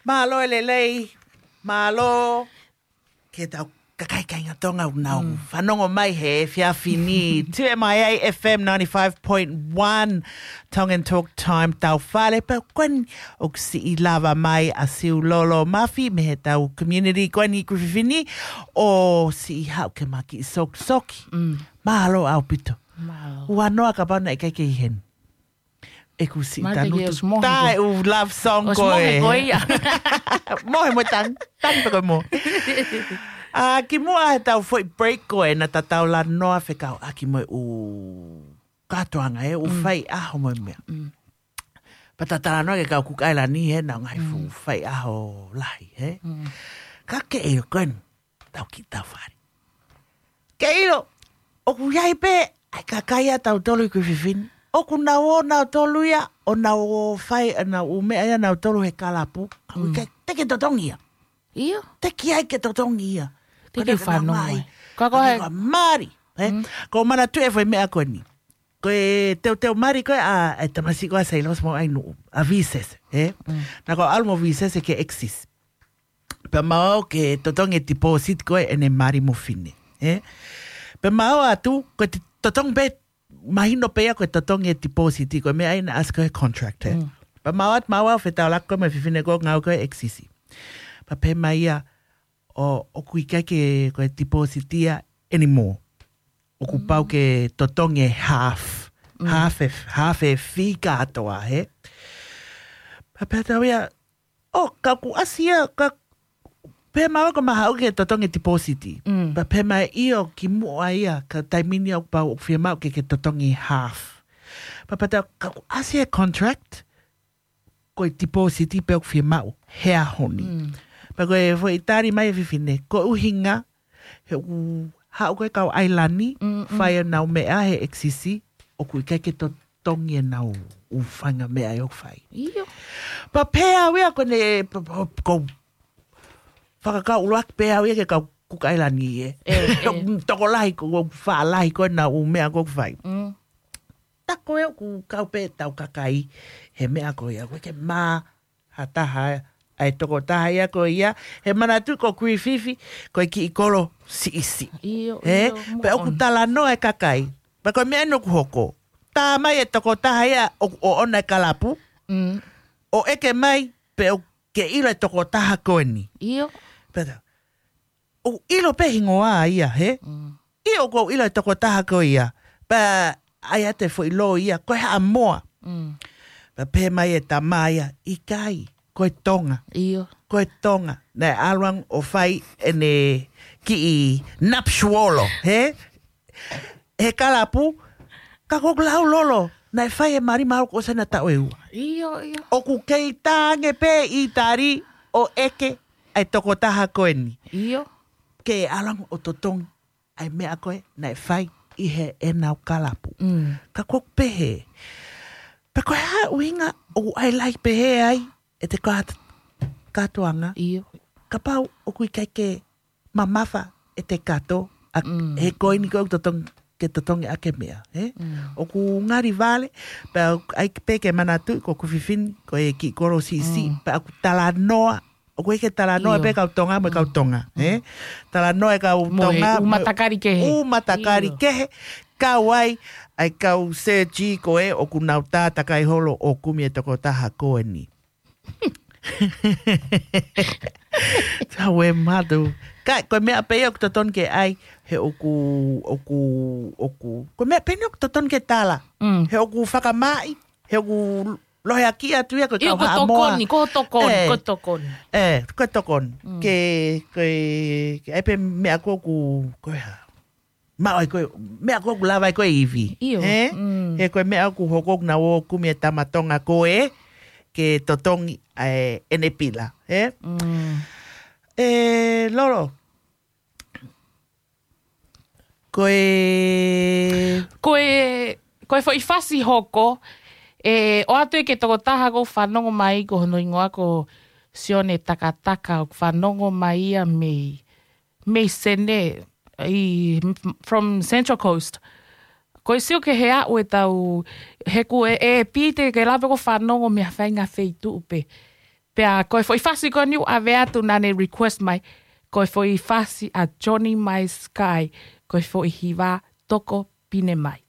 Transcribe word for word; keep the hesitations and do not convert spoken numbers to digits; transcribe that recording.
Mālō e lelei, mālō ke tau kakai kāinga Tonga ʻoku nau fanongo mai he efiafi ni. Two M I A F M ninety-five point one, Tongan Talk Time, tau fale pē ko eni ʻoku siʻi lava mai ʻa Siulolo Mafi mei he tau community ko eni Griffith ni ʻo siʻi haʻu ke ma kiʻi sokisoki. Mālō ʻaupito. Mālō. Ua noa kapau naʻe ʻikai ke ʻi heni. ʻEku siʻi Mate tanutu. Yes, mohe tā ko e ʻū love song ʻOsi ko mohe e. Ko ia. Mohe mo tang, tang pē ko e mohe. ʻA, kimuʻa he tau foʻi break ko ē naʻa ta talanoa fekauʻaki mo e ʻū kātoanga e ʻū faiʻaho mo e meʻa. Pea ta talanoa ki he kau Kuki ʻAilani he naʻa ngaahi fuʻu faiʻaho lahi, he? Ka ke ʻilo ko eni, tau kiʻi tau fale. Ke ʻilo, ʻoku ʻi ai pē ʻa e kakai ʻa tautolu ʻi Griffith ni. ʻOku nau ō nautolu ia, ʻo nau ō fai, ʻa nau ʻū meʻa ia nautolu he kalapu. ʻOku ʻikai te ke totongi ia. ʻIo. Te ke ʻai ke totongi ia. Te ke fanongo mai. Ka ko e mali, he? Ko e manatuʻi e foʻi meʻa ko eni. Ko e teuteu mali ko ē ʻa, ʻa e tamasiʻi ko ē ʻa Seilosi mo ʻAinuʻu, ʻa Visese, he? Naʻa ku ʻalu mo Visese ki he Axis. Pea mau ō ke totongi e deposit ko ē ʻene mali mo fine, he? Pea mau ō atu, ko e te-, totongi pē, mahino pē ia ko e totongi e deposit, ko e meʻa ʻi he ʻasi ko ē he contract, he? Pea mau ō atu, mau ō fetaulaki ko ē mo e fefine ko ē ngāue ko ē Axis. Pea pehē mai ia, ʻo, ʻoku ʻikai ke ko e deposit ia anymore. ʻOku pau ke totongi e half. Half e, half e fee kātoa, he? Pea pehē atu au ia, ʻo, ka ʻoku ʻasi ia, ka pehē mai ko ma haʻu ke totongi e deposit. Pea pehē mai ʻio kimuʻa ia, ka taimi ni ʻoku pau ʻoku fiemaʻu ke ke totongi half. Pea pehē atu au, ka ʻoku ʻasi e contract, ko e deposit pē ʻoku fiemaʻu he ʻaho ni. Pea ko e foʻi tali mai e fefine, ko e ʻuhinga, he ʻoku haʻu ko ē kau ʻAilani, fai ʻenau meʻa he Axis, ʻoku ʻikai ke totongi ʻenau ʻū faʻahinga meʻa ʻoku fai. ʻIo. Pea pehē au ia ko ʻene, pa-, pa-, ko fakakau ʻuluaki pē au ia ki he kau Kuki ʻAilani, he? ʻE, ʻe. Tokolahi ko, ko faʻa lahi ko ē ʻenau ʻū meʻa ko ē ʻoku fai. Ta ko ē ʻoku kau pē tau kakai he meʻa ko ia, ko e ke mā ha taha ʻa e tokotaha ia ko ia, he manatuʻi ko Griffith, ko e kiʻi kolo siʻisiʻi. ʻIo, he? ʻIo, pea ʻoku talanoa e kakai. Pea ko e meʻa ʻeni ʻoku hoko. Tā mai e tokotaha ia ʻoku ʻoʻona e kalapu. ʻO ʻeke mai, pea ʻoku ke ʻilo e tokotaha ko eni. ʻIo. Pea ta, ʻoku ʻilo pē hingoa ia, he? ʻIo, ʻoku ou ʻilo e tokotaha ko ia. Pea ʻai atu e foʻi loi ia, ko e Haʻamoa. Pea pehē mai e tama ia, ʻikai, ko e Tonga. ʻIo. Ko e Tonga. Naʻe ʻalu ange ʻo fai ʻene kiʻi nuptial, he? He kalapu, ka ko ʻeku lau Lolo, naʻe fai e mali mahalo kuo ʻosi ʻena taʻu ʻe ua. ʻIo, ʻio. ʻOku kei tā ange pē ʻi tali ʻo ʻeke ʻa e tokotaha ko eni. ʻIo. Ke ʻalu ange ʻo totongi ʻa e meʻa ko ē naʻe fai ʻi heʻenau kalapu. Ka ko ʻeku pehē. Pea ko e hā e ʻuhinga ʻoku ʻai lahi pehē ai ʻete kāto-, kātoanga. ʻIo. Kapau ʻoku ʻikai ke mamafa ʻete kato, ʻa, he ko eni ko ē ʻoku totongi, ke totongi ʻaki e meʻa, he? ʻOku ngali vale, pea ʻai pē ke manatuʻi ko Griffith, ko e kiʻi kolo siʻisiʻi, pea ʻoku talanoa, ʻoku ʻikai ke talanoa pē kau Tonga mo e kau Tonga, he? Talanoa e kau Tonga mo e ʻū matakali kehe. ʻIo. Kau ai, ʻa e kau Sir G ko ē, ʻoku nau tātakai holo ʻo kumi e tokotaha ko eni. Tau e matu. Ka, ko e meʻa pē ia ʻoku totonu ke ʻai, he ʻoku, ʻoku, ʻoku. Ko e meʻa pē eni ʻoku totonu ke tala. He ʻoku fakamaaʻi, he ʻoku loheʻaki atu ia ko e kau Haʻamoa. Ko e tokoni, ko e tokoni, ko e tokoni. ʻE, ko e tokoni. Ke, ke, ke ʻai pē meʻa ko ē ʻoku, ko e hā. Maʻu ai ko e, meʻa ko ē ʻoku lava ai ko e ivi. ʻIo. He? He ko e meʻa ʻoku hoko ʻoku nau ō kumi e tama Tonga ko ē, ke totongi ʻa e ʻene pila. He? ʻE, Lolo. Ko e. Ko e, ko e foʻi fasi hoko, ʻe, ʻoatu ia ki he tokotaha ʻoku fanongo mai ko hono hingoa ko Sione Takataka ʻoku fanongo mai ia mei mei Sene, ʻi, from Central Coast. Ko e sio ki he aʻu e tau, he ko e, ʻe pite ke lava ko e fanongo mei ha faʻahinga feituʻu pē. Pea ko e foʻi fasi ko eni ʻoku ʻave atu naʻa ne request mai, ko e foʻi fasi ʻa Johnny Maiskai, ko e foʻi hiva Tokopine Mai.